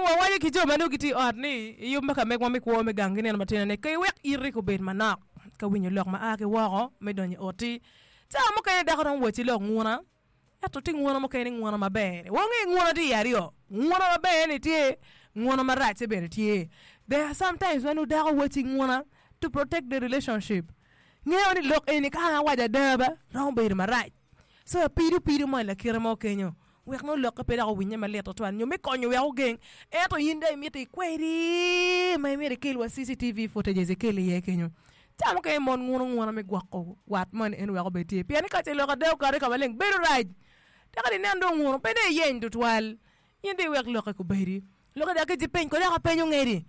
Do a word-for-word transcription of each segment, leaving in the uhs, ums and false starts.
Dong wawaco ki jo ma nongo gitye i ot ni i yub me ka megwa me kwo me gang ki nino matino ni ka iwek iti obed manok ka winyo lok ma a ki woko me donyo i oti. Cawa mukene dako romo wacci lok nguna ento tye nguna mukene nguna maber. Wange nguna tye i aryo nguna maber ni tye nguna marac-ce bene tye. There are sometimes ma nongo dako wacci nguna to protect the relationship. Ngeo ni lok eni ka an awaco ada ba romo bedo marac. So apido pido mo i lakite mo kenyo wek nongo lokke pe dok owinye malit tutwal nyo me konyo wek ogeng ento in dong imito ikwedi ma imito ikel wa C C T V footages ikel iye kenyo. Cawa mukene mon nguno nguna me gwoko wat moni en wek obed tye pien ni ka ce lok ada okati ka maleng bedo rac. Dok ka inen dong nguno pe dong iyeny tutwal in dong iwek lokke kubedi. Lokke dok ki peny kode dok apenyo ngedi.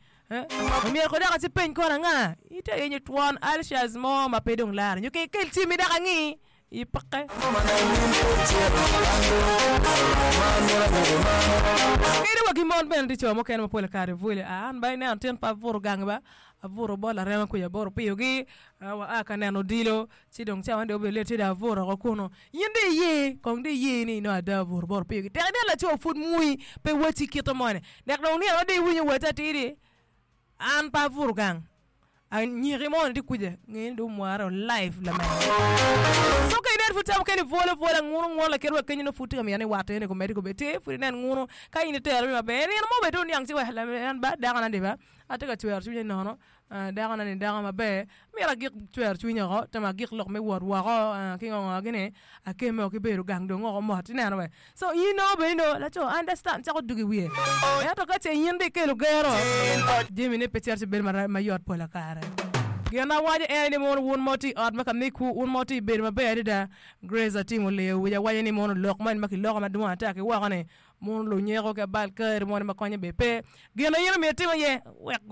Omyero kode dok acipeny kono anga ite yenyo twon ulcers mo ma pe dong lare nyo ke ikel cimmi dok angi i peke. Kadi wa ki mon bene tye co mukene ma pol kare bwole an ba ineno tin pe abuto gang ba abuto bot larema kuca abuto piyogi wa a ka neno odilo ci dong cawa ni dong obedo late ci dong abuto oko kunu in dong iye kong dong iye ni nongo ada obuto bot opiyogi tek inen laco pud mui pe wacci kite moni dok dong nino ma dong iwinyo wacci atidi an pe abuto gang anyiki moni tye kuca nge ni dong omware live lamego. So ka inen pud cawa mukene ibwolo bwola nguno nguno lakit wa kenyo nongo pud tye ka mito ni wat eni komedi kobed tye pud inen nguno ka in itero maber nino mo bene dong oniang ci wek en ba dakona ni ba atye ka cwero cwinye nono dakona ni dako maber myero agik cwero cwinye oko temo agik lok me wot woko ki ngo ngo gini akemme ki bedo gang dong oko mot ineno we so in nongo bene nongo laco understand cako dugo i wiye ento ka ce in dong ikelo gero jamine pe cito ci bedo mayot pol kare gin awaco en ni mono wun ma wutye i ot ma ka mekwu wun ma wutye i bedo maber adada Grace Atimo Leo wica waco ni mono lok moni ma kiloko madwong ata ki woko ni mono lunyeko ki abal kari moni ma konye bene pe gin ma in omyero itim aye wek